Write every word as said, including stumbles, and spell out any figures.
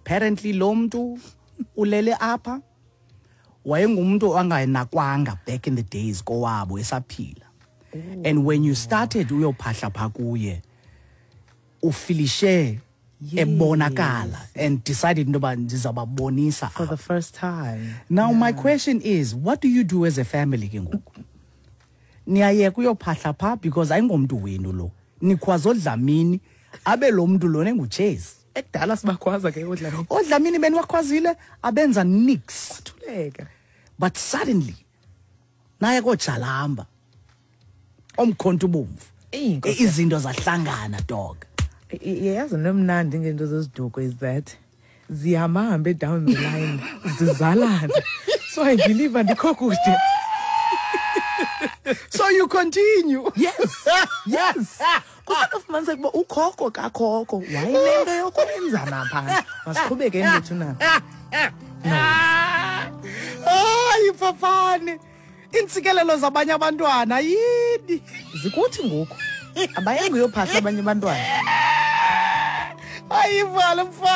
Apparently lo mntu ulele apha wayengumntu anganakwanga back in the days kowabo esaphila. And when you started uyophahla pha kuye, ufilishe ebonakala and decided into yoba ndizawubabonisa For the first time. Now my question is, what do you do as a family ke ngoku? Niyayeka uyophahla pha because ayingomntu wenu lo. Nikhwaza oDlamini, abe lo mntu lona enguTshezi. Ekudala sibakhwaza ke oDlamini. ODlamini beniwakhwazile, abenza nix. Thuleka. But suddenly naye kojalamba omkhonto ubomvu. Eyi, Nkosi. Izinto zahlangana, dog. Yazi, nomnandi ngento zeziduko is that zihamba down the line, zizalana. So I believe andikho kude. So you continue. Yes. Yes. Kusenofumaniseka ukuba ukhokho kakhokho wayenento yokwenza napha. Masiqhubeke lethu nabo. Hayi, Phaphane. Intsikelelo zabanye abantwana yini? Zikuthi ngoku. Abayengi uyophahla abanye abantwana. Hayi, vala mfana.